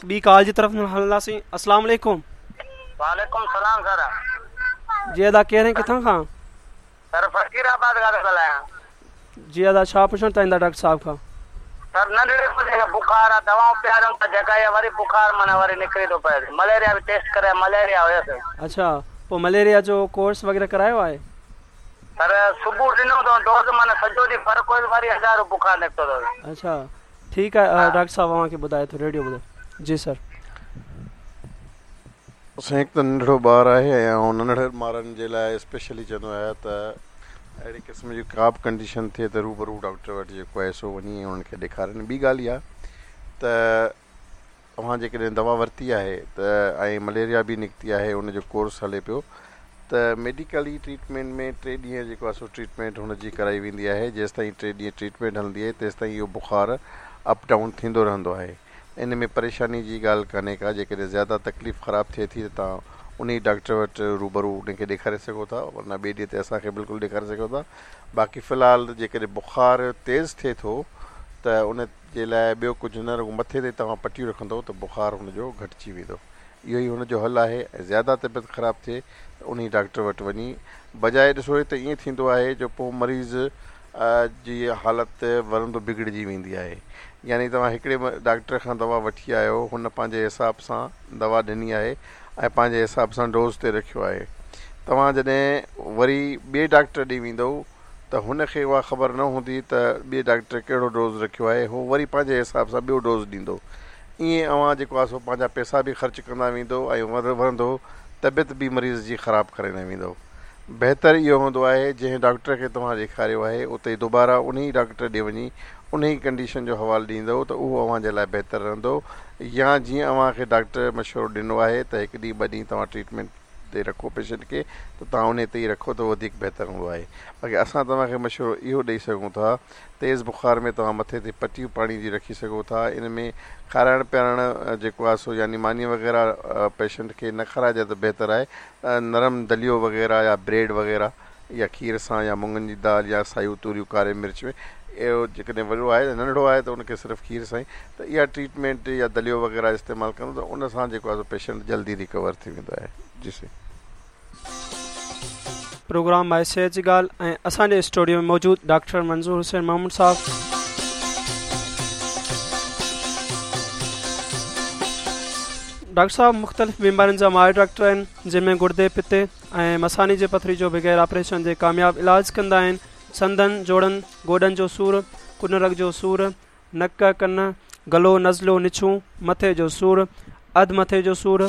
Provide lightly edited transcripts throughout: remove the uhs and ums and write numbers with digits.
هڪ ٻي ڪال جي طرف هلنداسين. السلام عليڪم. وعليڪم السلام سر. جي ادا ڪير ۽ ڪٿان کان؟ سر فقير آباد کان ٿو ڳالهايان. جي ادا ڇا پڇڻ چاهيندا ڊاڪٽر صاحب کان؟ سر ننڍڙي منهنجي کي بخار آ دوائون پياريون ته جيڪا وري بخار معنيٰ وري نڪري ٿو پئي مليريا به ٽيسٽ ڪرايو مليريا هيس. اڇا پوء مليريا جو ڪورس وغيره ڪرايو آهي؟ سر صبح ڏنو اٿئون ڊوز معنيٰ سڄو ڏينهن فرق هيس وري هزارو بخار نڪتو اٿس. اڇا ٺيڪ آهي ڊاڪٽر صاحب اوهان کي ٻڌائي ٿو ريڊيو ٻڌو جي سر. سائين هڪ ته ننڍڙو ٻار آهي ۽ آئون ننڍڙن ٻارن جي لاء اسپيشلي چوندو آهيان ته اهڙي قسم جي ڪا به ڪنڊيشن ٿئي ته روبرو ڊاڪٽر وٽ جيڪو آهي سو وڃي ۽ انهن کي ڏيکارين ٻي ڳالهه اها ته اوهان جيڪڏهن دوا ورتي آهي ته ۽ مليريا به نڪتي آهي ان جو ڪورس هلي پيو ته ميڊيڪلي ٽريٽمينٽ ۾ ٽي ڏينهن جيڪو آهي سو ٽريٽمينٽ هن جي ڪرائي ويندي آهي جيستائين ٽي ڏينهن ٽريٽمينٽ هلندي آهي تيستائين اهو بخار اپ ڊائون ٿيندو رهندو آهي ان ۾ پريشاني جي ڳالهه ڪانهي ڪا جيڪڏهن زياده تڪليف خراب ٿئي ٿي ته توهان انهي ڊاڪٽر وٽ روبرو ان کي ڏيکاري سگهو ٿا ورنه ٻئي ڏينهن تي اسان کي بلڪل ڏيکاري سگهو ٿا باقي في الحال جيڪڏهن بخار تيز ٿئي ٿو ته ان جي لاء ٻيو ڪجهه نه رڳو مٿي تي توهان پٽيون رکندو ته بخار هن جو گهٽجي ويندو اهو ئي هن جو حل آهي ۽ زياده طبيعت خراب ٿئي ته انهي ڊاڪٽر وٽ وڃي بجاء ڏسو هي ته ائين ٿيندو آهي جو پوء مريض جي حالت ورندو بگڙجي ويندي آهي يعني توهان هڪڙي ڊاڪٽر کان دوا وٺي آيا آهيو هن پنهنجي حساب سان دوا ڏني آهي ۽ پنهنجي حساب سان ڊوز تي رکيو آهي توهان جڏهن وري ٻئي ڊاڪٽر ڏي ويندؤ ته هن کي اها خبر نه هوندي ته ٻئي ڊاڪٽر ڪهڙو ڊوز رکيو آهي هو وري پنهنجي حساب سان ٻيو ڊوز ڏيندو ائين اوهان جيڪو آهي سو پنهنجا پئسا به خرچ ڪندا ويندؤ ۽ ورندو طبيعت به مريض جي خراب ڪرائيندا ويندؤ. بهتر اهو هوندو آهي جنهن ڊاڪٽر کي توهان ڏيکاريو آهي اتي دوباره انهي ڊاڪٽر ڏي وڃي انهي ڪنڊيشن جو حوال ڏيندؤ ته اهو اوهان جي لاء بهتر رهندو يا جيئن اوهان کي ڊاڪٽر مشورو ڏنو آهي ته هڪ ڏينهن ٻه ڏينهن توهان ٽريٽمينٽ تي رکو پيشنٽ کي ته توهان انهي تي ئي رکو ته وڌيڪ بهتر هوندو آهي باقي اسان توهان کي مشورو اهو ڏئي سگهون ٿا تيز بخار ۾ توهان مٿي تي پٽيون پاڻي جي رکي سگهو ٿا ان ۾ کارائڻ پيارڻ جيڪو آهي سو يعني ماني وغيره پيشنٽ کي نه کارائجي ته بهتر آهي نرم دليو وغيره يا بريڊ وغيره يا کير سان يا مڱن جي دال يا سايون توريون ڪاري مرچ ۾ اهو جيڪڏهن وڏو آهي ننڍڙو آهي ته ان کي صرف کير سان ئي ته اها ٽريٽمينٽ يا دليو وغيره استعمال ڪندو ته ان سان جيڪو آهي سو پيشنٽ جلدي ريڪور ٿي ويندو آهي جي سائين. پروگرام آهي صحت جي ڳالهه ۽ اسان جي اسٽوڊيو ۾ موجود ڊاڪٽر منظور حسين محمود صاحب ڊاڪٽر صاحب مختلف بيمارين جا ماهر ڊاڪٽر آهن جن ۾ گردي پتي ۽ مثاني جي پٿري جو بغير آپريشن جي ڪامياب علاج ڪندا آهن سنڌن جوڙن گوڏن جو سور ڪن رڳ جو سور نڪ، ڪن، گلو، نزلو، نڇون، مٿي جو سور، اڌ مٿي جو سور،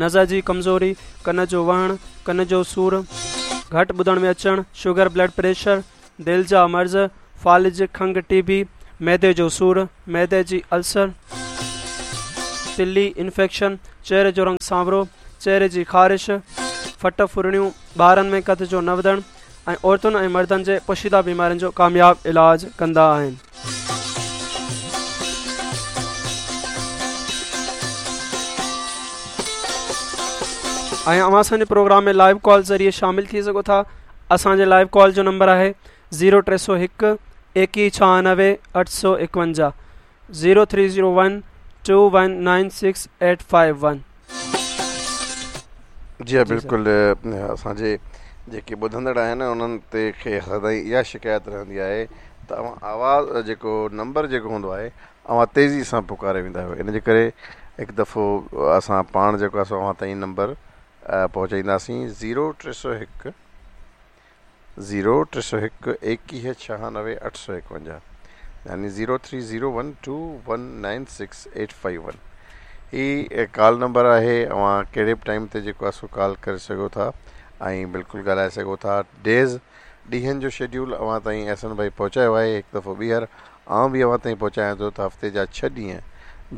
نظر جي ڪمزوري، ڪن جو وهڻ، ڪن جو سور، گهٽ ٻڌڻ ۾ اچڻ، شگر، بلڊ پريشر، دل جا مرض، فالج، کنگهه، ٽي بي، معدي جو سور، معدي جي السر، تلي، انفيڪشن، چهري جو رنگ سانورو، چهري جي خارش، ڦٽ ڦرڙيون، ٻارن ۾ قد جو نه وڌڻ، ۽ عورتن ۽ مردن جي پوشيده بيمارين جو ڪامياب علاج ڪندا آهن. ۽ اوهان اسان جي پروگرام ۾ لائيو ڪال ذريعي شامل ٿي سگهو ٿا اسان جي لائيو ڪال جو نمبر آهي زيرو 301 21 96 851 0301 2196 851. جي ها بلڪل اسان جي جيڪي ٻڌندڙ آهن انهن تي کي سدائين اها شڪايت رهندي آهي ته اوهان آواز جيڪو نمبر جيڪو هوندو آهي اوهان تيزي سان پڪاري ويندا آهيو ان جي ڪري هڪ دفعو اسان پاڻ جيڪو آهي سو اوهان تائين نمبر پهچائينداسين زيرو 301 زيرو 301 ايڪيهه ڇهانوي 851 يعني zero three zero one two one nine six eight five one هي ڪال نمبر آهي اوهان ڪهڙي به ٽائيم تي جيڪو آهي سو ڪال ڪري سگهو ٿا ۽ بلڪل ڳالهائي سگهو ٿا ڊيز ڏينهن جو شيڊيول اوهان تائين احسن ڀائي پهچايو آهي هڪ دفعو ٻيهر آئون به اوهان تائين پهچايان ٿو ته هفتي جا ڇهه ڏينهن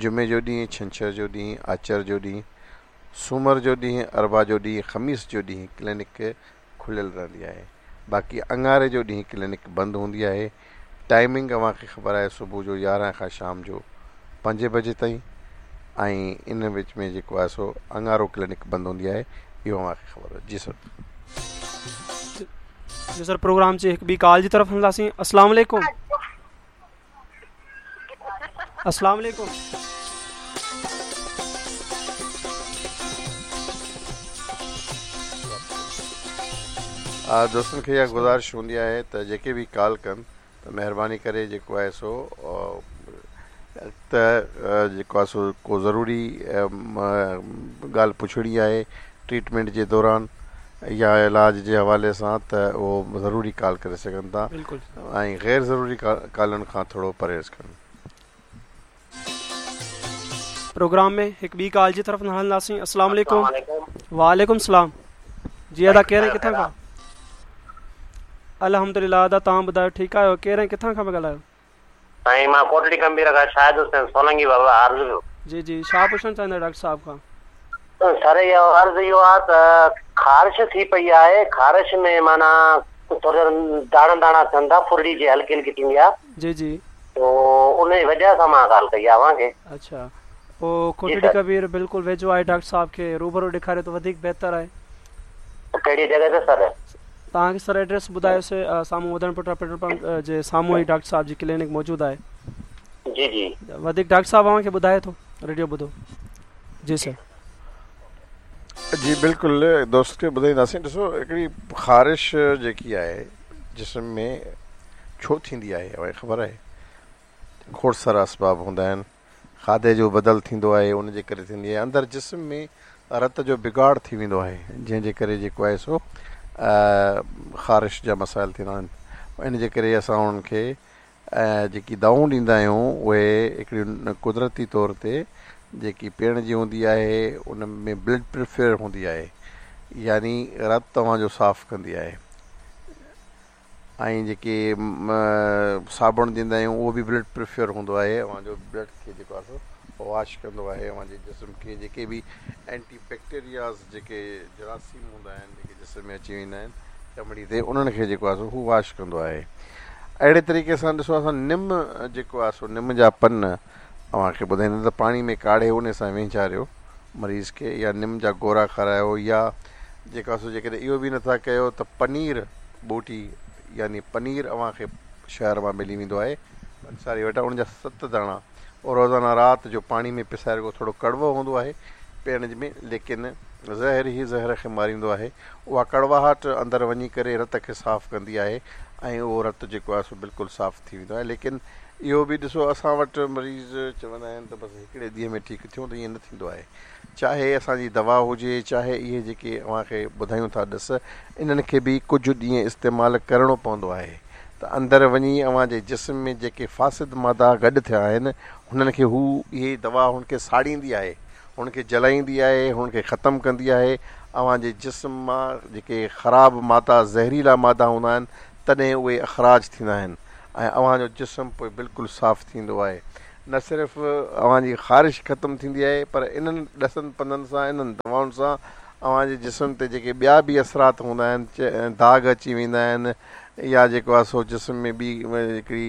جمعي جو ڏينهن ڇنڇر جو ڏينهن آچر جو ڏينهن سومر جو ڏينهن اربع جو ڏينهن خميس جو ڏينهن ڪلينڪ کليل رهندي آهي باقي اڱاري جو ڏينهن ڪلينڪ بند هوندي آهي ٽائمنگ اوهان کي خبر آهي صبح جو 11 کان شام جو 5 بجي تائين ۽ ان وچ ۾ جيڪو آهي سو اڱارو ڪلينڪ بند هوندي آهي اهو اوهان کي خبر آهي جي سر. جي سر پروگرام جي هڪ ٻي ڪال جي طرف هلنداسين السلام عليڪم. السلام عليڪم. دوستن کي اها گذارش هوندي آهي ته جيڪي به ڪال ڪن ته مهرباني ڪري جيڪو آهي سو ته جيڪو آهي سو ڪو ضروري ڳالهه پڇڻي آهي ٽريٽمينٽ جي دوران يا علاج جي حوالي سان ته اهو ضروري ڪال ڪري سگهن ٿا ۽ غير ضروري ڪالن کان ٿورو پرهيز ڪن. پروگرام ۾ هڪ ٻي ڪال جي طرف هلنداسين. السلام عليڪم. وعليڪم السلام. جي ادا ڪير ۽ ڪٿان کان؟ الحمدلله ادا توهان ٻڌايو ٺيڪ آهيو ڪير ۽ ڪٿان کان پيا ڳالهايو؟ سائين مان ڪوٽڙي ڪمبير کان شاهد حسين سولنگي بابا عرض پيو. جي جي ڇا پڇڻ چاهيندا ڊاڪٽر صاحب کان؟ سر اهو عرض اهو آ ته خارش ٿي پئي آهي خارش ۾ معنيٰ ٿورا داڻا داڻا ٿين ٿا ڦرڙي جي هلڪي هلڪي ٿيندي آ. جي جي. تو ان جي وجه سان مان ڪال ڪئي آ اوهان کي. اڇا پوء ڪوٽڙي ڪبير بلڪل ويجهو آهي ڊاڪٽر صاحب کي روبرو ڏيکاريو ته وڌيڪ بهتر آهي. ڪهڙي جڳهه تي سر؟ توهان کي سر ايڊريس ٻڌايوسي سامهون وڌڻ پٽ پيٽرول پمپ جي سامهون ئي ڊاڪٽر صاحب جي ڪلينڪ موجود آهي. جي جي. وڌيڪ ڊاڪٽر صاحب اوهان کي ٻڌائي ٿو ريڊيو ٻڌو جي سر. جي بلڪل دوست کي ٻڌائينداسين ڏسو هڪڙي خارش جيڪي آهي جسم ۾ ڇو ٿيندي آهي اوهان کي خبر آهي کوڙ سارا اسباب هوندا آهن کاڌي جو بدل ٿيندو آهي ان جي ڪري ٿيندي آهي اندر جسم ۾ رت جو بگاڙ ٿي ويندو آهي جنهن جي ڪري جيڪو آهي سو خارش جا مسائل ٿيندا آهن ان جي ڪري اسان انهن کي جيڪي دوائون ڏيندا آهيون اهي هڪڙيون قدرتي طور تي جيڪي پيئڻ جي هوندي آهي ان ۾ بلڊ پريفر هوندي آهي يعني رت توهان جو صاف ڪندي آهي ۽ جيڪي صابڻ ڏيندا آهيون اهو به بلڊ پريفر هوندو آهي اوهان جو بلڊ کي جيڪو آهي سو واش ڪندو آهي اوهان جي جسم کي جيڪي به اينٽي بيڪٽيرياز جيڪي جراثيم هوندا آهن جيڪي جسم ۾ اچي ويندا آهن چمڙي تي انهن کي جيڪو آهي سو هو واش ڪندو آهي اهڙي طريقي سان ڏسو اسان نم جيڪو آهي سو نم جا پن اوهان کي ٻڌائيندا ته پاڻي ۾ ڪاڙهي ان سان وهنجاريو مريض کي يا نم جا گورا کارايو يا جيڪو آهي سو جيڪڏهن اهو به نٿا ڪيو ته پنير ٻوٽي يعني پنير اوهان کي شهر مان ملي ويندو آهي پنساري وٽان ان جا ست داڻا روزانه رات جو پاڻي ۾ پسائي رکو ٿورو ڪڙوو هوندو آهي پيئڻ ۾ ليڪن زهر ئي زهر کي ماريندو آهي اها ڪڙواهٽ اندر وڃي ڪري رت کي صاف ڪندي آهي ۽ اهو رت جيڪو آهي سو بلڪل صاف ٿي ويندو آهي ليڪن اهو به ڏسو اسان وٽ مريض چوندا آهن ته بس هڪڙي ڏينهن ۾ ٺيڪ ٿيون ته ائين نه ٿيندو آهي چاهي اسان جي دوا هجي چاهي اهي جيڪي اوهان کي ٻڌايون ٿا ڏس انهن کي به ڪجهه ڏينهن استعمال ڪرڻو پوندو آهي ته اندر وڃي اوهان جي جسم ۾ جيڪي فاسد مادا گڏ ٿيا آهن هنن کي هو اهي دوا هن کي ساڙيندي آهي هن کي جلائيندي آهي هن کي ختم ڪندي آهي اوهان جي جسم مان جيڪي خراب مادا زهريلا مادا هوندا آهن تڏهن اهي اخراج ٿيندا آهن ۽ اوهان جو جسم پوء بلڪل صاف ٿيندو آهي نه صرف اوهان جي خارش ختم ٿيندي آهي پر انهن ڏسن پنڌن سان انهن دوائن سان اوهان جي جسم تي جيڪي ٻيا به اثرات هوندا آهن داغ اچي ويندا آهن يا جيڪو آهي سو جسم ۾ ٻي هڪڙي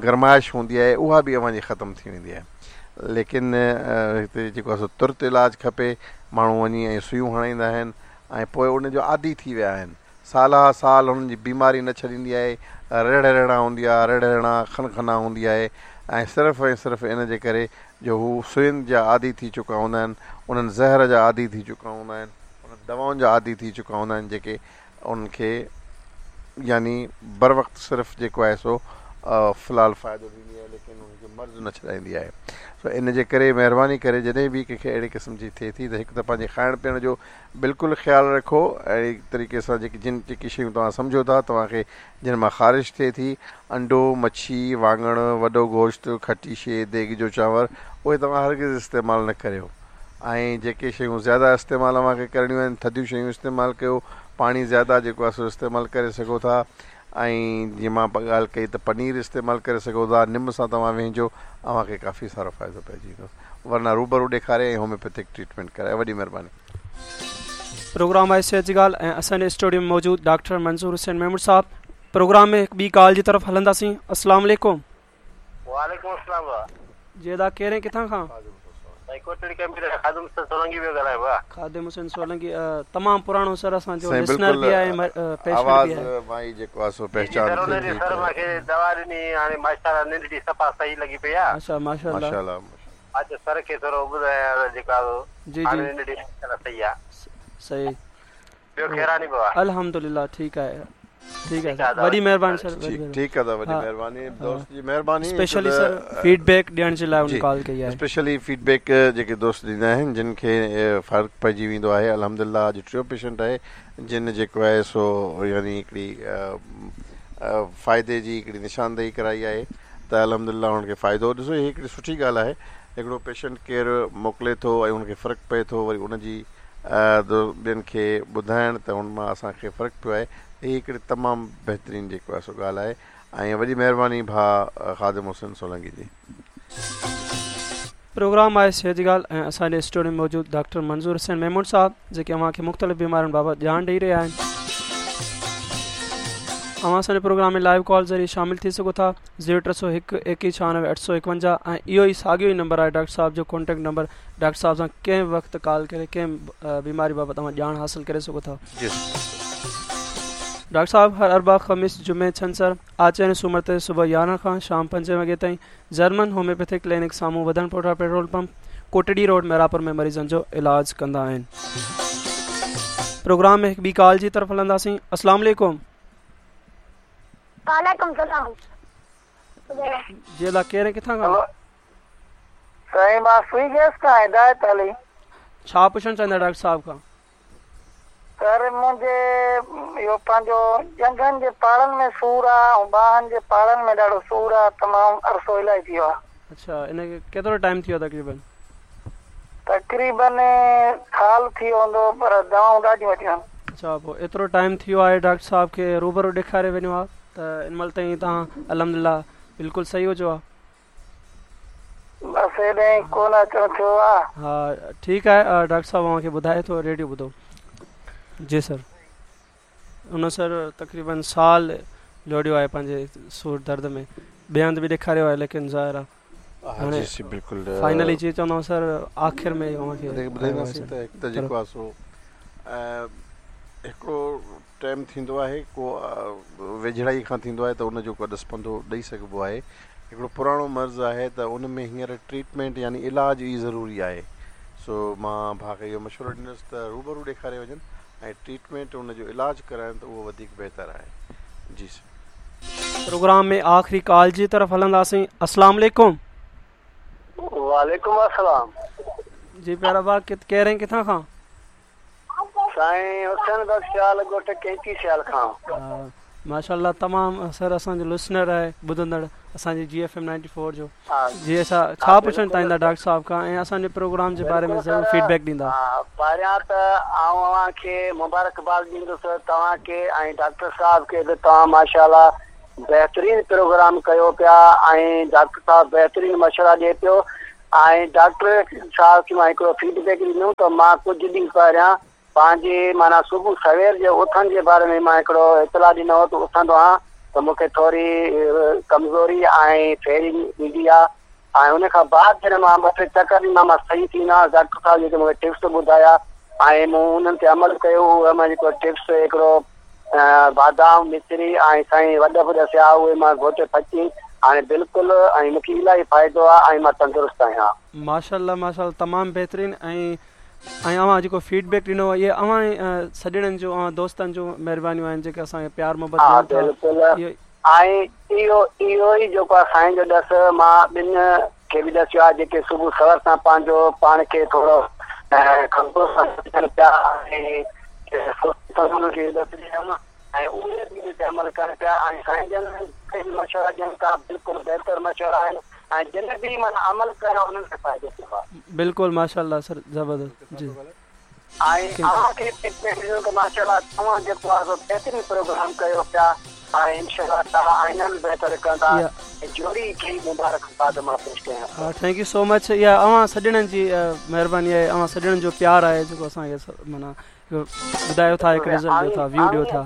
گرمائش هوندي آهي اها به اوهان جي ختم ٿي ويندي آهي ليڪن هتي جيڪو آهي سو ترت علاج کپي ماڻهو وڃي ۽ سيون هڻائيندا آهن ۽ پوء ان جو عادي ٿي ويا آهن سالها سال هنن جي بيماري نه ڇڏيندي آهي، رڙ رڙان هوندي آهي، رڙ رڙان کن کنا هوندي آهي ۽ صرف ۽ صرف ان جي ڪري جو هو سوين جا عادي ٿي چڪا هوندا آهن، انهن زهر جا عادي ٿي چڪا هوندا آهن، انهن دوائن جا عادي ٿي چڪا هوندا آهن جيڪي انهن کي يعني بروقت صرف جيڪو آهي سو في الحال فائدو ڏيندي آهي ليڪن انهن کي مرض نه ڇڏائيندي آهي. سو ان جي ڪري مهرباني ڪري جڏهن به ڪنهن کي اهڙي قسم جي ٿئي ٿي ته هڪ ته پنهنجي کائڻ پيئڻ جو بلڪل خيال رکو اهڙي طريقي سان جيڪي جن جيڪي شيون توهان سمجهو ٿا توهان کي جن مان خارش ٿئي ٿي انڊو مڇي واڱڻ وڏو گوشت کٽي شي ديڳ جو چانور اهي توهان هرگز استعمال نه ڪريو ۽ جيڪي شيون زياده استعمال اوهان کي ڪرڻيون آهن ٿڌيون شيون استعمال ڪيو پاڻي زياده جيڪو آهي سو استعمال ڪري سگهو ٿا ۽ جيئن مان ڳالهه ڪئي ته پنير استعمال ڪري سگهو ٿا نم سان توهان وهنجو اوهان کي ڪافي سارو فائدو پئجي ويندو ورنه روبرو ڏيکاري ۽ هوميوپيٿڪ ٽريٽمينٽ ڪرائي وڏي مهرباني. پروگرام آهي صحت جي ڳالهه ۽ اسان جي اسٽوڊيو ۾ موجود ڊاڪٽر منظور حسين ميمڻ صاحب پروگرام ۾ هڪ ٻي ڪال جي طرف هلنداسين السلام عليڪم. وعليڪم السلام ڀاء. جي ادا ڪير ۽ ڪٿان کان؟ سائين ڪوٽڙي ڪمپيوٽر کان خادم حسين سولنگي پيو ڳالهايان ڀاء. خادم حسين سولنگي تمام پراڻو سر اسان جو سائين لسنر بلڪل به آهي ۽ پيشنٽ آواز به آهي. مان ئي جيڪو آهي سو جي جي پهچان سر ٿئي ان جي ٿي سر ته. مان کي دوا ڏني هاڻي ماشاءالله ننڊ صفا صحيح لڳي پئي آ. اڇا ماشاءالله. ماشاءالله. اچ سر کي ٿورو ٻڌايان ته جيڪو آ سو جي هاڻي جي ننڊ ماشاءالله صحيح آ. صحيح. ٻيو خير آ ني بابا. الحمدلله ٺيڪ آهي ٺيڪ آهي سر وڏي مهرباني سر ٺيڪ ٺيڪ آ وڏي مهرباني دوست جي مهرباني اسپيشلي سر فيڊ بيڪ ڏيڻ جي لاء ان ڪال ڪئي آهي اسپيشلي فيڊ بيڪ جيڪي دوست ڏيندا آهن جن کي فرق پئجي ويندو آهي الحمدلله اڄ ٽيون پيشنٽ آهي جن جيڪو آهي سو يعني هڪڙي فائدي جي هڪڙي نشاندهي ڪرائي آهي ته الحمدلله انهن کي فائدو ڏسو هي هڪڙي سٺي ڳالهه آهي هڪڙو پيشنٽ ڪير موڪلي ٿو ۽ ان کي فرق پئي ٿو وري ان جي ٻين کي ٻڌائڻ ته ان مان اسان کي فرق پيو آهي هي هڪڙي تمام بهترين جيڪو آهي سو ڳالهه آهي ۽ وڏي مهرباني ڀاء خادم حسين سولنگي جي. پروگرام آهي صحت جي ڳالهه ۽ اسان جي اسٽوڊيو ۾ موجود ڊاڪٽر منظور حسين ميمڻ صاحب جيڪي اوهان کي مختلف بيمارين بابت ڄاڻ ڏئي رهيا آهن. اوهان اسان جي پروگرام ۾ لائيو ڪال ذريعي شامل ٿي سگهو ٿا زيرو 301 ايڪيهه 96 851 ۽ اهو ئي ساڳيو ئي نمبر آهي ڊاڪٽر صاحب جو ڪانٽيڪٽ نمبر ڊاڪٽر صاحب سان ڪنهن به وقت ڪال ڪري ڪنهن به بيماري بابت اوهان ڄاڻ حاصل ڪري سگهو ٿا. ڊاڪٽر صاحب هر اربع، خميس، جمعي، ڇنڇر، آچر ۽ سومر تي صبح 11 کان شام 5 وڳي تائين جرمن هوميوپيٿڪ ڪلينڪ سامهون وڌڻ پوٽا petrol pump, Kotri road Mehrabpur ۾ مريضن جو علاج ڪندا آهن. پروگرام ۾ هڪ ٻي ڪال جي طرف هلنداسين. السلام عليڪم. وعليڪم السلام. جي ادا ڪير ۽ ڪٿان کان؟ سائين مان سوئي گيس کان هدايت علي. ڇا پڇڻ چاهيندا ڊاڪٽر صاحب کان؟ سر منهنجي اهو پنهنجو ڄنگهن جي پاڙن ۾ سور آ ۽ ٻانهن جي پاڙن ۾ ڏاڍو سور آ تمام عرصو الاهي ٿي ويو آ. اڇا ان کي ڪيترو ٽائيم ٿي ويو تقريبن؟ تقريبن سال ٿي ويو هوندو پر دوائون ڏاڍيون ورتيون آهن. اڇا پوء ايترو ٽائيم ٿي ويو آهي ڊاڪٽر صاحب کي روبرو ڏيکاري وڃو ها ته ان مهل تائين توهان الحمدلله بلڪل صحيح هجو ها. بس هيڏانهن ڪونه اچڻ ٿيو آ. ها ٺيڪ آهي ڊاڪٽر صاحب اوهان کي ٻڌائي ٿو ريڊيو ٻڌو جي سر ان سر تقريبن سال لوڙيو آهي پنهنجي سور درد ۾ ٻئي هنڌ به ڏيکاريو آهي ليڪن ظاهر آهي هاڻي جي بلڪل فائنلي جي چوندو سر آخر ۾ اوهان کي ٻڌائينداسين ته هڪ ته جيڪو آهي سو هڪڙو ٽائيم ٿيندو آهي ڪو ويجهڙائي کان ٿيندو آهي ته ان جو ڪو ڏس پنڌو ڏئي سگهبو آهي هڪڙو پراڻو مرض آهي ته ان ۾ هينئر ٽريٽمينٽ يعني علاج ئي ضروري آهي سو مان ڀاء کي اهو مشورو ڏيندس ته روبرو ڏيکاري وڃن ۽ ٽريٽمينٽ ان جو علاج ڪرائن ته اهو وڌيڪ بهتر آهي جي سر. پروگرام ۾ آخري ڪال جي طرف هلنداسين السلام عليڪم. وعليڪم السلام. جي پيارا ڀاء ڪير ۽ ڪٿان کان؟ سائين حسين بخش سيال ڳوٺ ڪينچي سيال کان. ماشاءالله تمام سر اسان جو لسنر آهي ٻڌندڙ اسان جي جي ايف ايم 94 جو جي اسا ڇا پڇڻ چاهيندا ڊاڪٽر صاحب کان ۽ اسان جي پروگرام جي باري ۾ ضرور فيڊ بيڪ ڏيندا. پهريان ته آئون اوهان کي مبارڪباد ڏيندس توهان کي ۽ ڊاڪٽر صاحب کي به توهان ماشاءالله بهترين پروگرام ڪيو پيا ۽ ڊاڪٽر صاحب بهترين مشورا ڏئي پيو ۽ ڊاڪٽر صاحب کي مان هڪڙو فيڊ بيڪ ڏنو ته مان ڪجهه ڏينهن پهريان پنهنجي معنيٰ صبح سوير جي اٿڻ جي باري ۾ مان هڪڙو اطلاع ڏنو هو ته اٿندو آهيان ته مون کي ٿوري ڪمزوري ۽ ڦيري ايندي آهي ۽ ان کان بعد جڏهن مان ٻه ٽي چڪر ڏنا مان صحيح ٿي ويندو آهيان ڊاڪٽر صاحب جيڪي مون کي ٽپس ٻڌايا ۽ مون انهن تي عمل ڪيو اهي مان جيڪو ٽپس هڪڙو بادام، مصري ۽ سائين وڏ به ڏسيا اهي مان گهوٽي ڦچي هاڻي بلڪل ۽ مونکي الاهي فائدو آ ۽ مان تندرست آهيان. ماشاءالله ماشاءالله تمام بهترين ۽ ۽ اوهان جيڪو فيڊ بيڪ ڏنو اهي اوهان سڄڻن جو اوهان دوستن جون مهربانيون آهن جيڪي اسان کي پيار محبت ها ڏين ٿا بلڪل اهو ۽ اهو اهو ئي جيڪو آ سائين جو ڏس مان ٻن کي به ڏسيو آ جيڪي صبح سوير سان پنهنجو پاڻ کي ٿورو ڪمزور سمجهن پيا ۽ انهن کي ڏس ڏنم ۽ اهي به ان تي عمل ڪن پيا ۽ سائين جن به مشورا ڏين ٿا بلڪل بهتر مشورا آهن ۽ جن به معنيٰ عمل ڪيو انهن کي فائدو ٿيو آ. بلڪل ماشاءالله سر زبردست جي. ۽ اوهان کي به ڏنو ته ماشاءالله توهان جيڪو آهي سو بهترين پروگرام ڪيو پيا ۽ انشاء الله توهان اڃا به بهتر ڪندا ۽ جوڙي کي مبارڪ باد مان پيش ڪيان ٿو. Thank you سو مچ اها اوهان سڄڻن جي مهرباني آهي اوهان سڄڻن جو پيار آهي جيڪو اسان کي معنيٰ ٻڌايو ٿا هڪ رزلٽ ڏيو ٿا ويو ڏيو ٿا.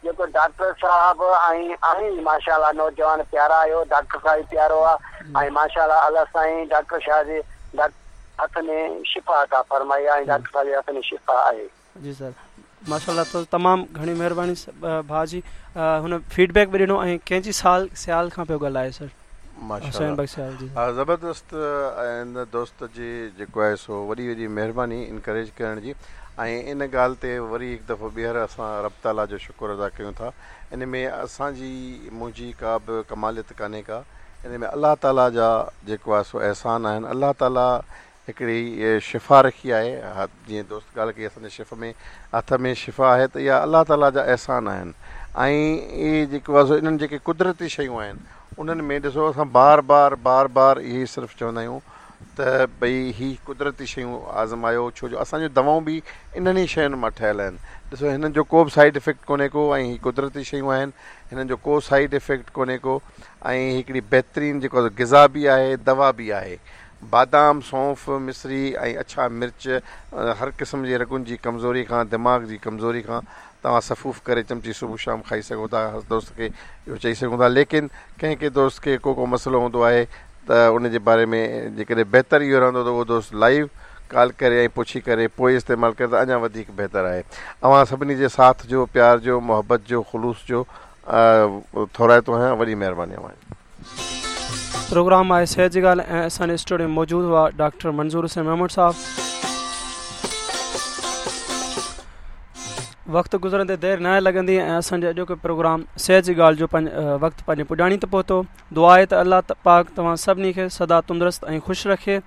جيڪو ڊاڪٽر صاحب ۽ آهين ماشاءالله نوجوان پيارا آهيو ڊاڪٽر صاحب به پيارو آهي ۽ ماشاءالله الله سائين ڊاڪٽر شاهه جي هٿ ۾ شفا عطا فرمائي ۽ ڊاڪٽر صاحب جي هٿ ۾ شفا آهي. جي سر ماشاءالله ته تمام گهڻي مهرباني ڀاء جي هن فيڊ بيڪ به ڏنو ۽ ڪنهن جي سال سيال کان پيو ڳالهائي سر حسين بخش سيال جي ماشاءالله زبردست ان دوست جي جيڪو آهي سو وڏي وڏي مهرباني انڪريج ڪرڻ جي ۽ ان ڳالهه تي وري هڪ دفعو ٻيهر اسان رب تعاليٰ جو شڪر ادا ڪيون ٿا. ان ۾ اسان جي منهنجي ڪا به ڪماليت ڪانهي ڪا. ان ۾ الله تعاليٰ جا جيڪو آهي سو احسان آهن. الله تعاليٰ هڪڙي شفا رکي آهي. جيئن دوست ڳالهه ڪئي اسان جي شف ۾ هٿ ۾ شفا آهي ته اها الله تعاليٰ جا احسان آهن ۽ اهي جيڪو آهي سو انهن جيڪي قدرتي شيون آهن انهن ۾ ڏسو اسان بار بار بار بار اهي صرف چوندا آهيون ته ڀئي هي قدرتي شيون آزمايو ڇو جو اسان جون دوائون به انهن ئي شين مان ٺهيل آهن ڏسو هنن جو ڪو به سائيڊ افيڪٽ ڪونهي ڪو ۽ هي قدرتي شيون آهن هنن جو ڪو سائيڊ افيڪٽ ڪونهي ڪو ۽ هڪڙي بهترين جيڪو غذا به آهي دوا به آهي بادام سونف مصري ۽ اڇا مرچ هر قسم جي رڳن جي ڪمزوري کان دماغ جي ڪمزوري کان توهان سفوف ڪري چمچي صبح شام کائي سگهو ٿا هر دوست کي اهو چئي سگهون ٿا ليڪن ڪنهن ڪنهن دوست کي ڪو ڪو مسئلو هوندو آهي ته ان جي باري ۾ جيڪڏهن بهتر اهو رهندو ته اهو دوست لائيو ڪال ڪري ۽ پڇي ڪري پوء استعمال ڪري ته اڃا وڌيڪ بهتر آهي اوهان سڀني جي ساٿ جو پيار جو محبت جو خلوص جو ٿورائتو آهيان وڏي مهرباني اوهان جي. پروگرام آهي صحت جي ڳالهه ۽ اسان جي اسٽوڊيو ۾ موجود هئا ڊاڪٽر منظور حسين ميمڻ صاحب. وقت گذرندي دير ناهي لڳندي ۽ اسان جي اڄوڪي پروگرام صحت جي ڳالهه جو وقت پنهنجي پڄاڻي تي پهتو. دعا آهي ته الله پاڪ توهان سڀني کي سدا تندرست ۽ خوش رکي.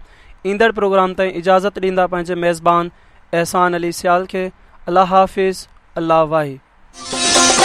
ايندڙ پروگرام تائين اجازت ڏيندا پنهنجي ميزبان احسان علي سيال کي. الله حافظ الله واهي.